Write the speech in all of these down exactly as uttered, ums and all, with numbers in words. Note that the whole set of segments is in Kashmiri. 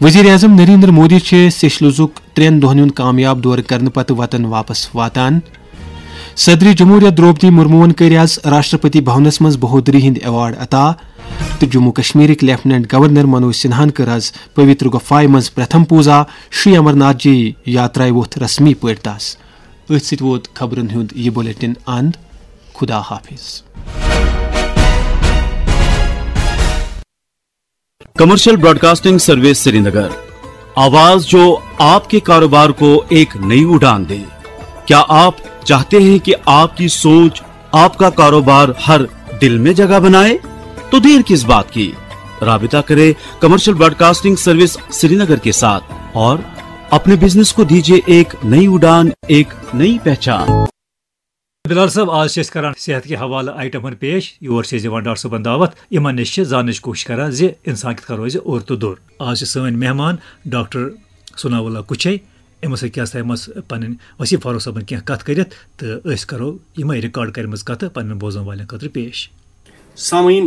وزیر اعظم نریندر مودی چھِ سیشلزُک ترٛٮ۪ن دۄہن ہُنٛد کامیاب دورٕ کرنہٕ پتہٕ وطن واپس واتان۔ صدر جمہوریہ درٛوپدی مرموہن کٔرۍ آز راشٹرپتی بھونس منٛز بہادری ہٕنٛدۍ ایوارڈ عطا تہٕ جموں کشمیرٕکۍ لیفٹیننٹ گورنر منوج سنہاہن کٔر آز پویتر گفایہِ منٛز پرتھم پوزا شری امرناتھ جی یاترایہِ ووٚتھ رسمی پٲٹھۍ داس۔ أتھۍ سۭتۍ ووت خبرن ہُنٛد یہِ بلیٹن اند۔ خدا حافظ۔ کمرشل براڈکاسٹنگ سروس سرینگر، آواز جو آپ کے کاروبار کو ایک نئی اڑان دے۔ کیا آپ چاہتے ہیں کہ آپ کی سوچ، آپ کا کاروبار ہر دل میں جگہ بنائے؟ تو دیر کس بات کی؟ رابطہ کریں کمرشل براڈکاسٹنگ سروس سرینگر کے ساتھ اور اپنے بزنس کو دیجیے ایک نئی اڑان، ایک نئی پہچان۔ بلال صٲب، آز چھِ أسۍ کران صحت کہِ حوالہٕ آیٹمن پیش۔ یور چھِ أسۍ دِوان ڈاکٹر صٲبن دعوت، یِمن نِش چھِ زاننٕچ کوٗشِش کران زِ انسان کِتھ کٔنۍ روزِ اوٚر تہٕ دوٚر۔ آز چھِ سٲنۍ مہمان ڈاکٹر ثناء اللہ کُچھے۔ أمِس سۭتۍ کیٛاہ سا ہٮ۪مس پنٕنۍ وسیٖم فاروق صٲبن کینٛہہ کتھ کٔرِتھ تہٕ أسۍ کرو یِمے ریکارڈ کرِمژٕ کتھٕ پنٕنٮ۪ن بوزن والٮ۪ن خٲطرٕ پیش۔ سامعیٖن،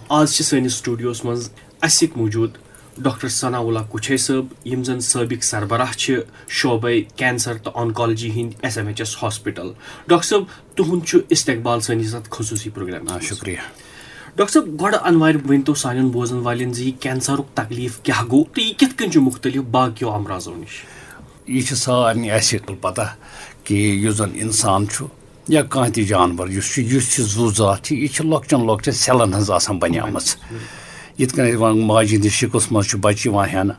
آز چھِ سٲنِس سٹوڈیوس منٛز اسہِ سۭتۍ موجود ڈاکٹر ثناء اللہ کُچھے صٲب، یِم زن سٲبق سربراہ چھِ شعبے کینسر تہٕ آنکالجی ہٕنٛدۍ S M H S hospital. Doctor صٲب، تُہُنٛد چھُ استقبال سٲنِس اتھ خصوٗصی پروگرامس آ، منٛز۔ شُکریہ۔ ڈاکٹر صٲب، گۄڈٕ انوارِ ؤنۍ تو سانٮ۪ن بوزن والٮ۪ن زِ یہِ کینسرُک تکلیف کیٛاہ گوٚو تہٕ یہِ کِتھ کٔنۍ چھُ مُختٔلِف باقیو امراضو نِش؟ یہِ چھِ سارنٕے اَسہِ پَتہ کہِ یُس زَن اِنسان چھُ یا کانٛہہ تہِ جانوَر یُس چھُ، یُس تہِ زُو زاتھ چھِ، یہِ چھِ لۄکچَن لۄکچَن سیلَن ہٕنٛز آسان بَنیمٕژ۔ یِتھ کٔنۍ أسۍ وَنان ماجہِ ہِنٛدِس شِکُس منٛز چھُ بَچہِ یِوان ہٮ۪نہٕ،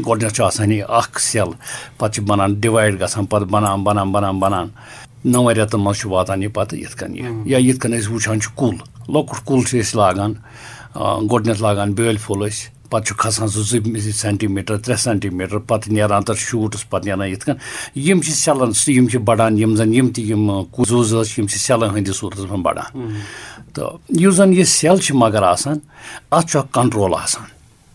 گۄڈٕنٮ۪تھ چھُ آسان یہِ اَکھ سیل، پَتہٕ چھِ بَنان ڈِوایِڈ گژھان، پَتہٕ بَنان، بَنان، بَنان، بَنان۔ نَوَن رٮ۪تَن منٛز چھُ واتان یہِ پَتہٕ یِتھ کٔنۍ یہِ۔ یا یِتھ کٔنۍ أسۍ وٕچھان چھِ کُل، لۄکُٹ کُل چھِ أسۍ لاگان، آ، گۄڈٕنٮ۪تھ لاگان بیٛٲلۍ پھوٚل أسۍ، پَتہٕ چھُ کھسان سُہ زٕ سینٹی میٖٹر، ترٛےٚ سینٹی میٖٹر، پَتہٕ نیران تَتھ شوٗٹٕس، پَتہٕ نیران یِتھ کٔنۍ۔ یِم چھِ سیلَن سۭتۍ، یِم چھِ بَڑان، یِم زَن یِم تہِ یِم، آ، کُ-، زُو زٲژ چھِ، یِم چھِ سیلَن ہٕنٛدِس صوٗرتَس منٛز بَڑان۔ تہٕ یُس زَن یہِ سیل چھِ مگر آسان، اَتھ چھُ اَکھ کنٹرول آسان۔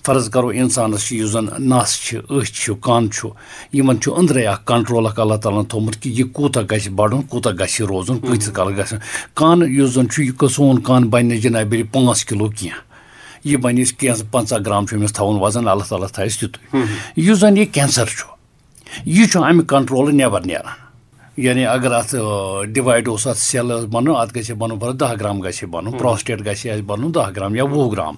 فرض کَرو، اِنسانَس چھِ یُس زَن نَس چھِ، أچھ چھِ، کَن چھُ، یِمَن چھُ أنٛدرَے اَکھ کنٹرول اَکھ اللہ تعالیٰ ہَن تھوٚومُت کہِ یہِ کوٗتاہ گژھِ بَڑُن، کوٗتاہ گژھِ یہِ روزُن، کۭتِس کالَس گژھِ۔ کَن یُس زَن چھُ، یہِ سون کَن بَنہِ نہٕ جِنابِ پانٛژھ کِلوٗ کینٛہہ۔ یہِ بَنہِ اَسہِ کینٛژھ پنٛژاہ گرام چھُ أمِس تھاوُن وَزَن، اللہ تعالیٰ تھایَس تیُتُے۔ یُس زَن یہِ کینسر چھُ، یہِ چھُ اَمہِ کنٹرولہٕ نٮ۪بر نیران۔ یعنی اگر اَتھ، آ، ڈِوایِڈ اوس، اَتھ سیل ٲس بَنُن، اَتھ گژھِ ہے بَنُن، فرض، دَہ گرام گژھِ ہے بَنُن، پراسٹیٹ گژھِ ہے اَسہِ بَنُن دَہ گرام یا وُہ گرام۔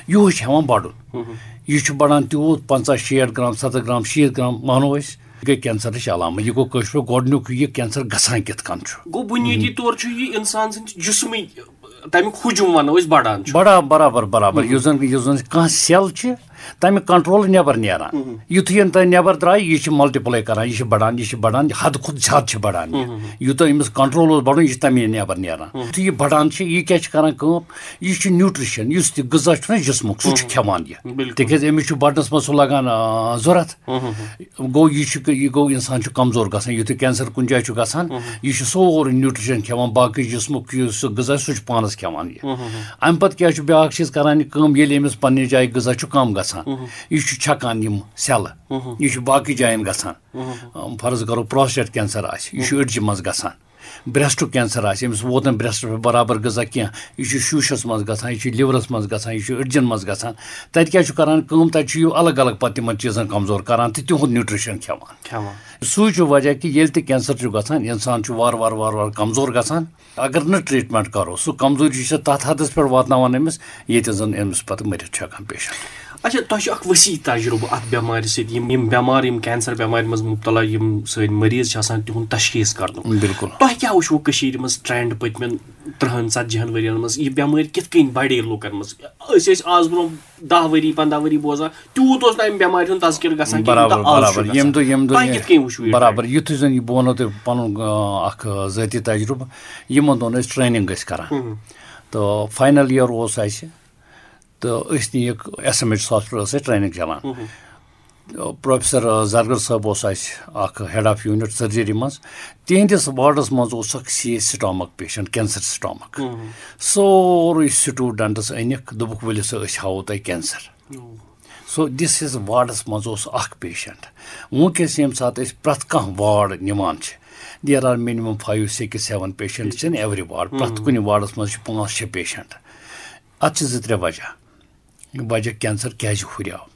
یِہُس چھُ ہٮ۪وان بَڑُن۔ یہِ چھُ بَڑان تیوٗت، پنٛژاہ، شیٹھ گرام، ستتھ گرام، شیٖتھ گرام، مانو أسۍ، یہِ گٔے کینسرٕچ علامت۔ یہِ گوٚو کٲشِر پٲٹھۍ گۄڈٕنیُک یہِ کینسر گژھان کِتھ کٔنۍ چھُ۔ گوٚو بُنیٲدی طور چھُ یہِ اِنسان سٕنٛدِ جسمٕکۍ تَمیُک ہجوٗم وَنو أسۍ بَڑان چھُ۔ بڑا-، برابر، برابر۔ یُس زَن، یُس زَن کانٛہہ سیل چھِ، تَمہِ کنٹرول نٮ۪بر نیران۔ یُتھُے یَن تۄہہِ نٮ۪بر درٛاے، یہِ چھِ ملٹیپلاے کران، یہِ چھِ بڑان، یہِ چھِ بڑان، حدٕ کھۄتہٕ زیادٕ چھِ بڑان یہِ۔ یوٗتاہ أمِس کنٹرول اوس بڑُن، یہِ چھِ تَمے نٮ۪بر نیران۔ یُتھُے یہِ بڑان چھِ، یہِ کیٛاہ چھِ کران کٲم؟ یہِ چھُ نیوٗٹریشن، یُس تہِ غذا چھُنہ جسمُک، سُہ چھُ کھٮ۪وان یہِ۔ تِکیٛازِ أمِس چھُ بڑنس منٛز سُہ لگان، آ، ضوٚرتھ۔ گوٚو، یہِ چھُ، یہِ گوٚو، اِنسان چھُ کمزور گژھان۔ یُتھُے کینسر کُنہِ جایہِ چھُ گژھان، یہِ چھُ سورُے نیوٗٹریشن کھٮ۪وان، باقٕے جسمُک یُس سُہ غذا، سُہ چھُ پانس کھٮ۪وان یہِ۔ اَمہِ پتہٕ کیٛاہ چھُ بیٛاکھ چیٖز کران یہِ کٲم؟ ییٚلہِ أمِس پننہِ جایہِ غذا چھُ کم گژھان، یہِ چھُ چھکان یِم سیلہٕ، یہِ چھُ باقٕے جاین گژھان۔ فرض کرو، پراسٹیٹ کینسر آسہِ، یہِ چھُ أڈجہِ منٛز گژھان۔ بریسٹُک کینسر آسہِ، أمِس ووت نہٕ بریسٹس پٮ۪ٹھ برابر غذا کینٛہہ، یہِ چھُ شوٗشس منٛز گژھان، یہِ چھُ لِورس منٛز گژھان، یہِ چھُ أڈجن منٛز گژھان۔ تتہِ کیٛاہ چھُ کران کٲم؟ تتہِ چھُ یہِ الگ الگ پتہٕ تِمن چیٖزن کمزور کران تہٕ تِہُنٛد نیوٗٹریشن کھٮ۪وان۔ کھٮ۪وان۔ سُے چھُ وجہ کہِ ییٚلہِ تہِ کینسر چھُ گژھان، انسان چھُ وارٕ وارٕ وارٕ وارٕ کمزور گژھان۔ اگر نہٕ ٹریٹمنٹ کرو، سُہ کمزوری چھِ تتھ حدس پٮ۪ٹھ واتناوان أمِس، ییٚتہِ زن أمِس پتہٕ مٔرِتھ چھُ ہٮ۪کان پیشنٹ۔ اچھا، تۄہہِ چھُ اکھ وسیع تجرُبہٕ اتھ بٮ۪مارِ سۭتۍ۔ یِم، یِم بٮ۪مار، یِم کینسر بٮ۪مارِ منٛز مبتلا یِم سٲنۍ مریض چھِ آسان، تِہُنٛد تشخیص کرنُک۔ بِلکُل۔ تۄہہِ کیٛاہ وٕچھوٕ کٔشیٖرِ منٛز ٹرینڈ پٔتمٮ۪ن ترٕٛہن ژتجی ہن ؤرین منٛز؟ یہِ بٮ۪مٲرۍ کِتھ کٔنۍ بڑے لُکن منٛز؟ أسۍ ٲسۍ آز برونٛہہ دَہ ؤری، پنٛداہ ؤری بوزان، تیوٗت اوس نہٕ امہِ بٮ۪مارِ ہُنٛد تذکرٕ گژھان کینٛہہ، برابر، یوٗتاہ آز چھُ برابر۔ ییٚمہِ گژھان۔ دۄہ، ییٚمہِ دۄہ تۄہہِ یہِ کِتھ کٔنۍ وٕچھوٕ یہِ برابر، ٹرینڈ؟ یُتھُے زن یہِ، بہٕ وَنو تۄہہِ پنُن، آ، اکھ، آ، ذٲتی تجرُبہٕ۔ یِمن دۄہن ٲسۍ ٹریننگ ٲسۍ کران۔ تہٕ فاینل ییر اوس اسہِ، تہٕ أسۍ نِیِکھ ایس ایم ایچ ہاسپٹل، ٲس اسہِ ٹریننگ چلان۔ پروفیسر زرگر صٲب اوس اسہِ اکھ ہیڈ آف یوٗنٹ سرجری منٛز۔ تِہنٛدِس وارڈس منٛز اوس اکھ C H stomach patient, cancer stomach. سورُے سٹوڈنٹس أنِکھ، دوٚپُکھ، "ؤلِو سا، أسۍ ہاوو تۄہہِ کینسر۔" سو دِس ہِس وارڈس منٛز اوس اکھ پیشنٹ۔ وٕنکیٚس ییٚمہِ ساتہٕ أسۍ پرٛٮ۪تھ کانٛہہ وارڈ نِوان چھِ، there are minimum five, six, seven patients in every ward۔ پرٛٮ۪تھ کُنہِ وارڈس منٛز چھِ پانٛژھ شےٚ پیشنٹ۔ اتھ چھِ زٕ ترٛےٚ وجہ۔ وجہ کینسر کیٛازِ ہُریو؟